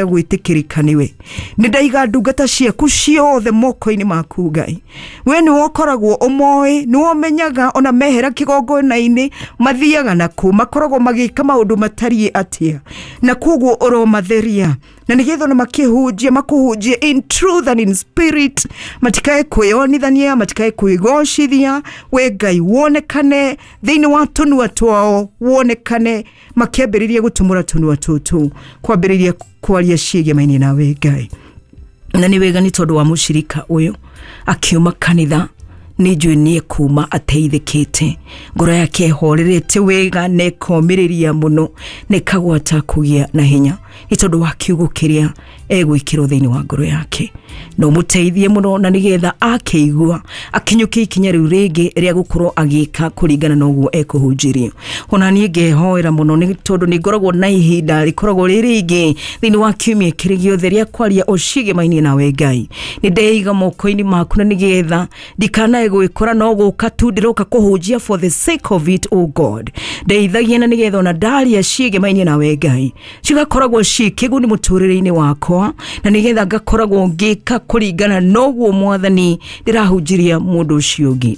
Gwĩtĩkĩrĩka nĩwe. Nĩ ndaiga ndungata ciaku ciothe moko-inĩ maku, Ngai. We nĩwe ũkoragwo ũmoĩ, nĩwe ũmenyaga ona mehera kĩgongona-inĩ mathiaga nakũ, makoragwo magĩka maũndũ matariĩ atĩa, na koguo ũromatheria na nĩgetha ona makĩhunjia makũhunjie in truth and in spirit, matikae kwĩyonithania, matikae kwĩgocithia. We Ngai, wonekane thĩinĩ wa tũnua twao, wonekane makĩambĩrĩria gũtumũra tũnua tũtũ kwambĩrĩria kwaria ciĩgemaine nawe, Ngai. Na nĩ wega nĩ tondũ wa mũcirika ũyũ akiuma kanitha, nĩ njũĩ nĩ ekuma ateithĩkĩte, ngoro yake ĩhorerete wega na ĩkomĩrĩria mũno na ĩkagwata kũgĩa na hinya nĩ tondũ wa kiugo kĩrĩa egwĩkĩrwo thĩinĩ wa ngoro yake. Na ũmũteithie mũno na nĩgetha akĩigua akinyũkie ikinya rĩu rĩngĩ rĩa gũkorwo agĩka kũringana na ũguo ekũhunjĩrio. Ona niĩ ngehoera mũno nĩ tondũ nĩ ngoragwo na ihinda rĩkoragwo rĩ rĩingĩ thĩinĩ wa kiumia kĩrĩ gĩothe rĩa kwaria o ciĩgemainie nawe, Ngai. Nĩ ndeiga moko-inĩ maku na nĩgetha ndikanae gwĩkora no gũka tu ndĩroka kũhunjia for the sake of it. Oh God, ndeithagia na nĩgetha ona ndaria ciĩgemainie nawe, Ngai, cigakoragwo ciĩ kĩguni mũtũrĩre-inĩ wakwa na nĩgetha ngakoragwo ngĩka kũringana noguo Mwathani ndĩrahunjĩria mũndũ ũcio ũngĩ.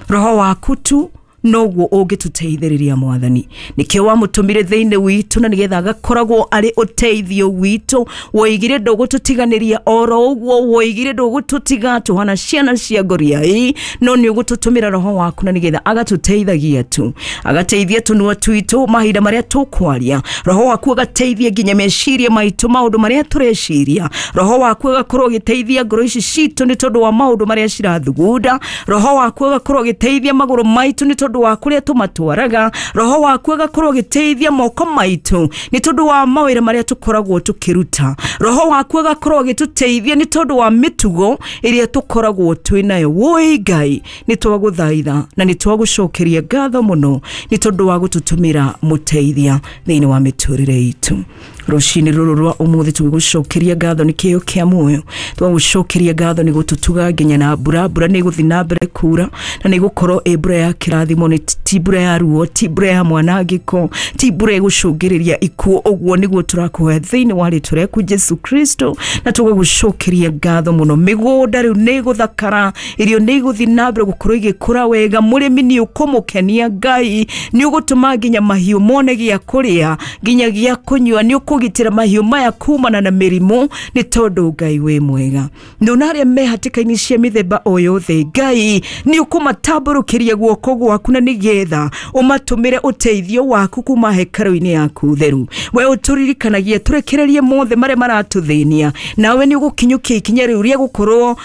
Roho waku tu noguo ũngĩtũteithĩrĩria, Mwathani. Nĩkĩo wamũtũmire thĩinĩ witũ na nĩgetha agakoragwo arĩ ũteithio witũ. Woigire ndũgũtũtiganĩria, oro ũguo woigire ndũgũtũtiga tũhana ciana cia ngoriai, no nĩ ũgũtũtũmĩra Roho waku na nĩgetha agatũteithagia tu, agateithia tũnua twitũ mahinda marĩa tũkwaria. Roho waku agateithia nginya meciria maitũ, maũndũ marĩa tũreciria. Roho waku agakorwo agĩteithia ngoro ici citũ nĩ tondũ wa maũndũ marĩa cirathugunda. Roho waku agakorwo agĩteithia magũrũ maitũ nĩ tondũ wa kũrĩa tũmatwaraga. Roho waku agakorwo agĩteithia moko maitũ nĩ tondũ wa mawĩra marĩa tũkoragwo tũkĩruta. Roho waku agakorwo agĩtũteithia nĩ tondũ wa mĩtugo ĩrĩa tũkoragwo twĩ nayo. Woi Ngai, nĩ twagũthaitha na nĩ twagũcokeria ngatho mũno nĩ tondũ wa gũtũtũmĩra mũteithia thĩinĩ wa mĩtũrĩre itũ. Rũcinĩ rũrũ rwa ũmũthĩ tũgĩgũcokeria ngatho nĩ kĩheo kĩa muoyo, twagũcokeria ngatho nĩ gũtũtuga nginya na mbura. Mbura nĩ ĩgũthiĩ na mbere kura na nĩ ĩgũkorwo ĩ mbura ya kĩrathimo, nĩ ti mbura ya ruo, ti mbura ya mwanangĩko, ti mbura ĩgũcũngĩrĩria ikuũ. Ũguo nĩguo tũrakũhoya thĩinĩ wa rĩtwa rĩaku Jesu Kristo, na tũgagũcokeria ngatho mũno. Mĩgũnda rĩu nĩ ĩgũthakara, irio nĩ igũthiĩ na mbere gũkorwo igĩkũra wega, mũrĩmi nĩ ũkũmũkenia, Ngai. Nĩ ũgũtũma nginya mahiũ mone gĩa kũrĩa nginya gĩa kũnyua, nĩ ũkũgitĩra mahiũ maya kumana na mĩrimũ nĩ tondũ Ngai wĩ mwega. Nona arĩa me hatĩka-inĩ cia mĩthemba o yothe, Ngai, nĩ ũkũmatambũrũkĩria guoko gwaku na nĩgetha ũmatũmĩre ũteithio waku kuma hekarũ-inĩ yaku theru. We ũtũririkanagia tũrekererie mothe marĩa maratũthĩnia, nawe nĩ ũgũkinyũkia ikinya rĩu rĩa gũkorwo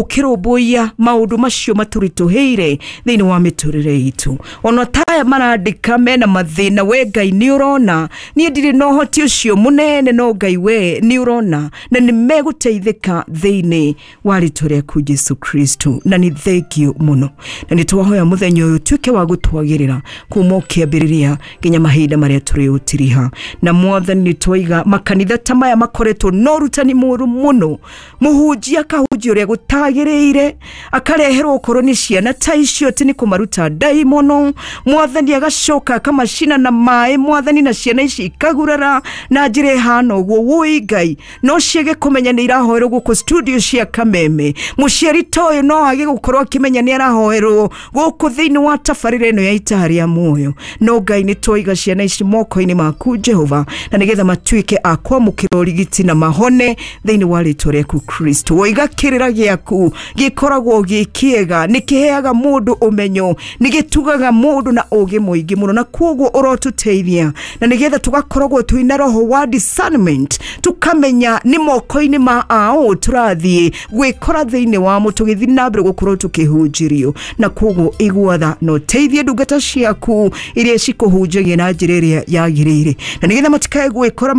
ũkĩrũmbũiya maũndũ macio matũritũhĩire thĩinĩ wa mĩtũrĩre itũ. Ona taya marandĩka mena mathĩna, we Ngai nĩ ũrona. Niĩ ndirĩ na ũhoti ũcio mũnene, no Ngai we nĩ ũrona na nĩ megũteithĩka thĩinĩ wa rĩtwa rĩaku Jesu Kristo. Na nĩ thengio mũno na nĩ twahoya mũthenya ũyũ ũtuĩke wa gũtwagĩrĩra kuma ũkĩambĩrĩria nginya mahinda marĩa tũrĩũtiriha. Na Mwathani, nĩ twaiga makanitha ta maya makoretwo na ũrutani mũru mũno, mũhunjia akahunjia ũrĩa gũtagĩrĩire, akareherwo okorwo nĩ ciana ta icio atĩ nĩ kũmaruta ndaimono, Mwathani, agacoka akamacina na maĩ, Mwathani, na ciana ici ikagurara na njĩra ĩhana ũguo. Wũi Ngai, no ciage kũmenya nĩ irahoerwo gũkũ studio cia Kameme. Mũciari ta ũyũ no age gũkorwo akĩmenya nĩ arahoerwo gũkũ thĩinĩ wa tabarĩra ĩno ya Itaha rĩa Muoyo, no Ngai, nĩ twaiga ciana ici moko-inĩ maku, Jehova, na nĩgetha matuĩke a kwamũkĩra ũrigiti na mahone thĩinĩ wa rĩtwa rĩaku Kristo. Woiga kĩrĩra gĩaku gĩkoragwo gĩ kĩega, nĩ kĩheaga mũndũ ũmenyo, nĩ gĩtugaga mũndũ na ũgĩ mũingĩ mũno, na koguo ũrotũteithia na nĩgetha tũgakoragwo twĩna roho wa discernment, tukamenya nĩ moko-inĩ ma aũ tũrathiĩ gwĩkora thĩinĩ wamo tũgĩthiĩ na mbere gũkorwo tũkĩhunjĩrio. Na koguo igua tha na ũteithie ndungata ciaku iria cikũhunjagia na njĩra ĩrĩa yagĩrĩire, na nĩgetha matikae gwĩkora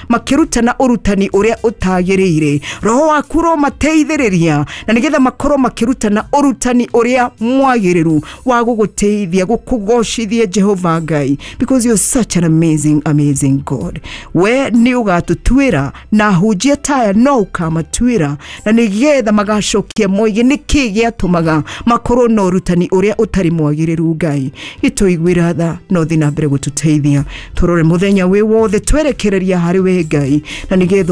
makĩrutana ũrutani ũrĩa ũtagĩrĩire. Roho waku ũromateithĩrĩria na nĩgetha makorwo makĩrutana ũrutani ũrĩa mwagĩrĩru wa gũgũteithia gũkũgocithia, Jehova Ngai, because you're such an amazing, amazing God. We nĩ ũgatũtuĩra na hunjia taya no ũkamatuĩra na nĩgetha magacokia moige nĩkĩ gĩatũmaga makorwo na ũrutani ũrĩa ũtarĩ mwagĩrĩru. Ngai, gĩtũiguĩra tha na ũthiĩ na mbere gũtũteithia tũrore mũthenya wĩ wothe twerekereria harĩ we, Ngai, na nĩgetha